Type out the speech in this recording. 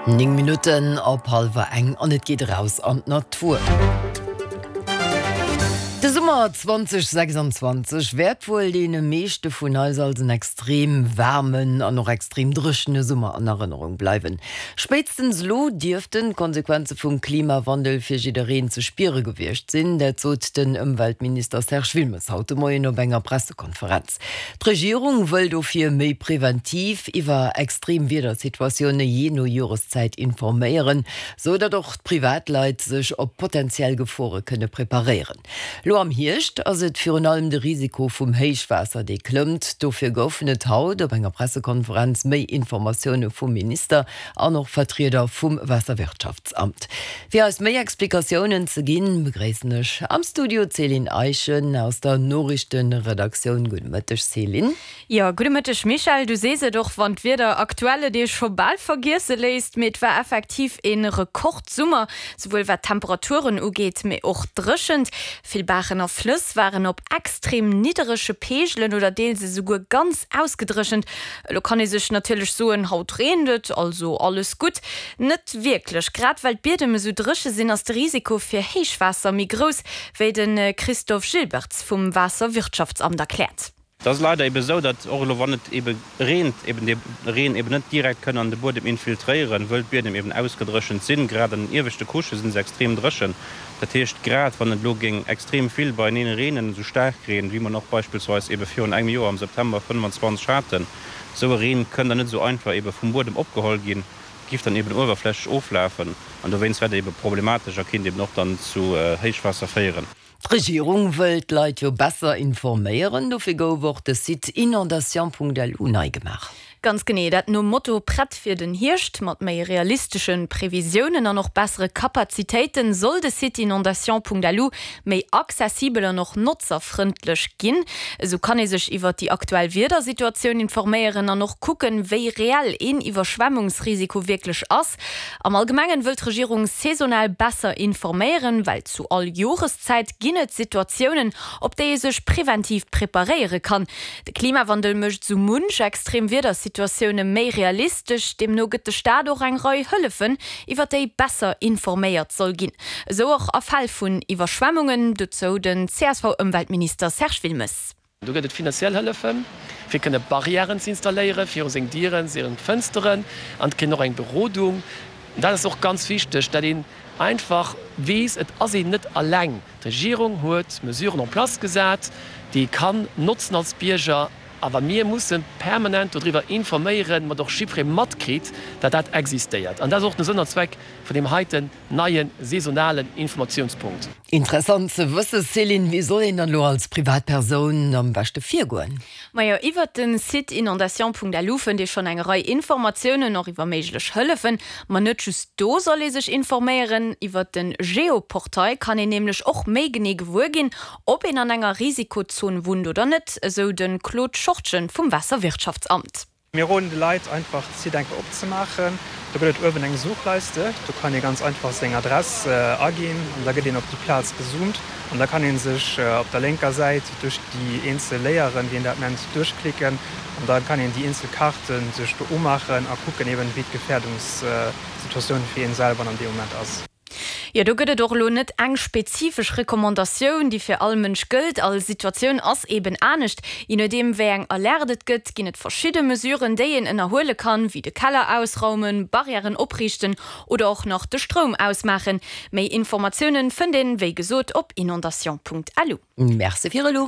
9 Minutten op hallwer eng an et geet eraus an d'Natur. De Summer 2026 wäert wuel deene meeschte vun eis als en extrem waarmen an och extrem dréchene Summer an Erënnerung bleiwen. Spéitstens elo dierften d'Konsequenze vum Klimawandel fir jiddereen ze spiere gewiescht sinn. Dat sot den Ëmweltminister Serge Wilmes haut de Moien op enger Pressekonferenz. D'Regierung wëll dofir méi preventiv iwwer extrem Wiedersituatioune jee no Joreszäit informéieren, sou datt och d'Privatleit sech op potentiell Gefore kënne preparéieren. Lo am Hierscht ass et virun allem de Risiko vum Héichwaasser, dee klëmmt. Dofir goufen et haut op enger Pressekonferenz méi Informatioune vum Minister an och Vertrieder vum Waasserwirtschaftsamt. Fir eis méi Explikatiounen ze ginn, begréissen ech am Studio d'Céline Eischen aus der Noriichtenredaktioun. Gudde Mëtteg Céline. Jo, gudde Mëtteg Michèle. Du sees et, och wann d'Wieder aktuell et ee scho bal vergiesse léisst, mee et war effektiv ee Rekordsummer, souwuel wat d'Temperaturen ugeet, mee och d'Dréchent. Vill Baachen a Flëss waren op extrem nidderege Peegelen oder deels esouguer ganz ausgedréchent. Elo kann ee sech natierlech soen, haut reent et, also alles gutt. Net wierklech. Grad well d'Biedem esou dréche sinn, ass de Risiko fir Héichwaasser méi grouss, wéi de Christophe Gilbertz vum Waasserwirtschaftsamt erkläert. Et ass leider ebe esou, datt och elo wann et ebe reent, eben dee Reen eben net direkt kënn an de Buedem infiltréieren, wëll d'Biedem eben ausgedréchent sinn. Grad an den ieweschte Couchë si se extrem dréchen. Dat heescht, grad wann et elo géing extrem vill beieneen reenen, esou staark Reen, wéi mer en och beispillsweis ebe virun engem Joer am September 25 haten, esou e Reen kënn dann net esou einfach ebe vum Buedem opgeholl ginn, giff dann eben uewerflächlech oflafen an dowéinst wär dat ebe problematesch a kinnt eben och dann zu Héichwaasser féieren. D'Regierung wëll d'Leit jo besser informéieren, dofir gouf och de Site inondation.lu nei gemaach. Ganz genee, dat nom Motto Prett fir den Hierscht. Mat méi realistesche Previsiounen an och bessere Kapazitéiten soll de Site inondation.lu méi accessibel an och notzerfrëndlech ginn. Esou kann ee sech iwwer déi aktuell Wiedersituatioun informéieren an och kucken, wéi reell een Iwwerschwemmungsrisiko wierklech ass. Am Allgemengen wëll d'Regierung saisonal besser informéieren, well zu all Joreszäit ginn et Situatiounen, op déi ee sech preventiv preparéiere kann. De Klimawandel mécht esou munch extrem Wiedersituatioune méi realistesch. Deemno gëtt de Staat och eng Rei Hëllefen, iwwer déi besser informéiert soll ginn. Esou och a Fäll vun Iwwerschwemmungen. Dozou den CSV-Ëmweltminister Serge Wilmes. Do gëtt et finanziell Hëllefen, fir kënne Barrièren ze installéieren viru seng Dieren, seng Fënsteren an et kritt een och eng Berodung. Dat ass och ganz wichteg, dat een einfach weess, et ass een net alleng. D'Regierung huet Mesuren en place gesat, déi ee kann notzen als Bierger, awer mir musse permanent dodriwwer informéieren, mat och jiddweree matkritt, datt dat existéiert. An dat ass och de Sënn an Zweck vun deem heiten neie saisonalen Informatiounspunkt. Interessant ze wëssen, Céline. Wéi soll een dann elo als Privatpersoun am beschte virgoen? Majo, iwwert den Site inondation.lu fënnt ee schonn eng Rei Informatiounen, och iwwer méiglech Hëllefen. Ma net just do soll ee sech informéieren. Iwwert den Geoportail kann een nämlech och méi genee gewuer ginn, ob een an enger Risikozon wunnt oder net, esou de Claude Schortgen vum Waasserwirtschaftsamt. Mir roden de Leit einfach de Site eng Kéier opzemaachen. Do gëtt et uewen eng Suchleiste, do kann ee ganz einfach seng Adress aginn an da gëtt een op déi Plaz gezoomt an da kann ee sech op der lénker Säit duerch déi eenzel Layeren, wéi een dat nennt, duerchklicken an da kann een déi eenzel Kaarte sech do umaachen a kucken eben, wéi d'Gefährdungssituatioun fir een selwer an deem Moment ass. Jo, do gëtt et och elo net eng spezifesch Recommandatioun, déi fir all Mënsch gëllt. All Situatioun ass eben anescht. Je nodeem, wéi eng Alerte et gëtt, ginn et verschidde Mesuren, déi een ënnerhuele kann, wéi de Keller ausraumen, Barrièren opriichten oder och nach de Stroum ausmaachen. Méi Informatiounen fënnt een, wéi gesot, op inondation.lu. Merci fir elo.